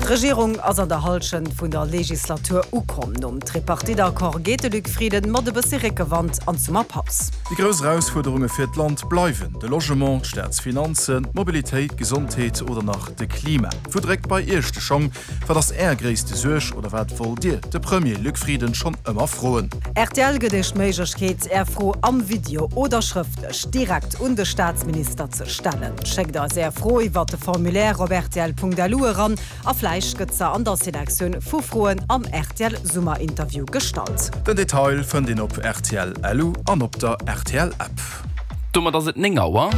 D'Regierung ass an der Hallschent vun der Legislatur ukomm. Nom Tripartite-Accord geet de Luc Frieden mat e bëssi Réckewand an d'Summerpaus. Déi grouss Erausfuerderunge fir d'Land bleiwen de Logement, d'Staatsfinanzen, d'Mobilitéit, d'Gesondheet oder nach de Klima. Wou dréckt bei Iech de Schong? Wat ass Är gréisste Suerg oder wat wollt Dir de Premier Luc Frieden schonn ëmmer froen? Rtl gëtt Iech d'Méiglechkeet, Är Fro am Video oder schrëftlech direkt un de Staatsminister ze stellen. Schéckt eis Är Fro iwwert de Formulaire op rtl.lu eran a vläicht gëtt se an der Selektioun vu Froen am rtl Summerinterview gestallt. Den Detail fënnt een op rtl.lu an op der rtl App. Domat ass et 9 Auer.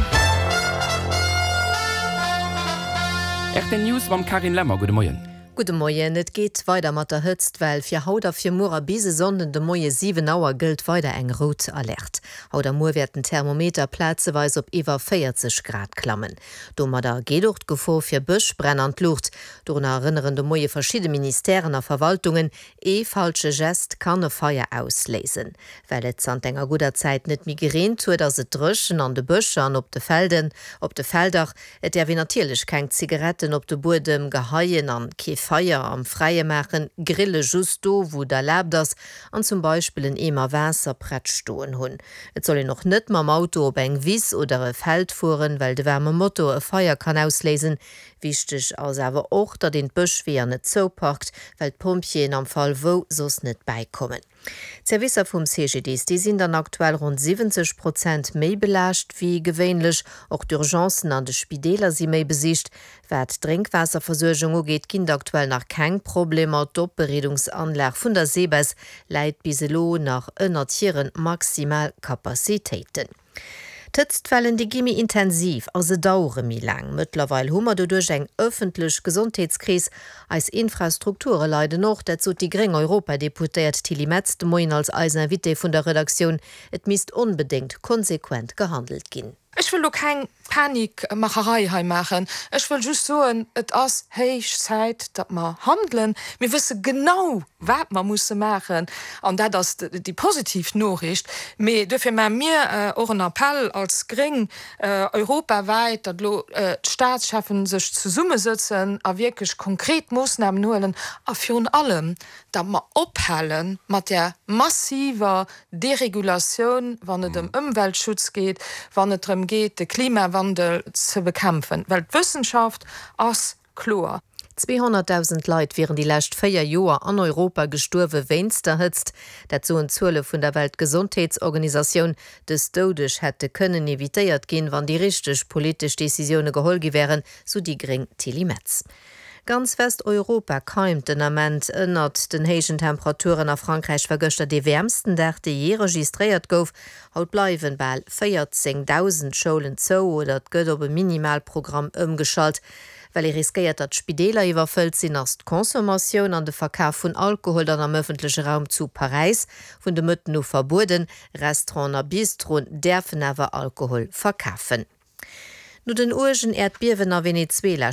Rtl News mam Carine Lemmer. Gudde Moien. Gudde Moien. Et geet weider mat der Hëtztwell. Fir haut a fir muer a bis e Sonnden de Moie 7 Auer gëllt weider eng rout Alerte. Haut a muer wäerten d'Thermometer plazeweis op iwwer 40 Grad klammen. Domadder geet och d'Gefor fir Bëschbränn an d'Luucht. Dorunner erënneren de Moie verschidde Ministèren a Verwaltungen. Ee falsche Gest kann e Feier ausléisen. Well et zanter enger gudder Zäit net méi gereent huet, ass et dréchen an de Bëscher an op de Felden. Op de Felder. Et däerf een natierlech keng Zigaretten op de Buedem geheien an kee Feier am Fräie maachen, grille just do wou et erlaabt ass an zum Beispill en Eemer Waasser prett stoen hunn. Et soll een och net mam Auto op eng Wiss oder e Feld fueren, well de waarme Motor e Feier kann ausléisen. Wichteg ass awer och, datt een d'Bëschweeër net zouparkt, well d'Pompjeeën am Fall wou soss net bäikommen. D'Servicer vum CGDIS, déi sinn dann aktuell ronn 70 Prozent méi belaascht wéi gewéinlech. Och d'Urgencen an de Spideeler si méi besicht. Wat d'Drénkwaasserversuergung ugeet, ginn et aktuell nach keng Problemer. D'Opbereedungsanlag vun der SEBES läit bis elo nach ënnert hire maximal Capacitéiten. D'Hëtztwellen, déi gi méi intensiv a se dauere méi laang. Mëttlerweil hu mer doduerch eng ëffentlech Gesondheetskris. Eis Infrastrukture leiden och. Dat sot déi gréng Europadeputéiert Tilly Metz de Moien als eis Invitée vun der Redaktioun. Et misst onbedéngt konsequent gehandelt ginn. Ech wëll do keng Panikmacherei hei maachen. Ech wëll just soen, et ass héich Zäit, datt mer handelen. Mir wësse genau, wat mer musse maachen, an dat ass déi positiv Noriicht. Mee duerfir maache mir och en Appell als Gréng europawäit, datt elo d'Staatscheffen sech zesummesëtzen a wierklech konkret Moossnamen huelen a virun allem, datt mer ophale mat där massiver Deregulatioun, wann et ëm Ëmweltschutz geet, wann et drëm geet, de Klimawandel ze bekämpfen, well d'Wëssenschaft ass kloer. 200.000 Leit wieren déi lescht 4 Joer an Europa gestuerwe wéinst der Hëtzt. Dat soen d'Zuele vun der Weltgesondheetsorganisatioun. Dës Doudeg hätte kënnen evitéiert ginn, wann déi richteg politesch Decisioune geholl gi wären, sou déi gréng Tilly Metz. Ganz Westeuropa keimt den Ament ënnert den héijen Temperaturen. A Frankräich war gëschter dee wäermsten Dag, dee jee registréiert gouf. Haut bleiwen bal 14.000 Schoulen zou oder et gëtt op e Minimalprogramm ëmgeschalt. Well ee riskéiert, datt d'Spideeler iwwerfëllt sinn, ass d'Consommatioun an de Verkaf vun Alkohol dann am ëffentleche Raum zu Paräis vun de Mëtten u verbueden. Restauranten a Bistroen däerfen awer Alkohol verkafen. No den uergen Äerdbiewen a Venezuela.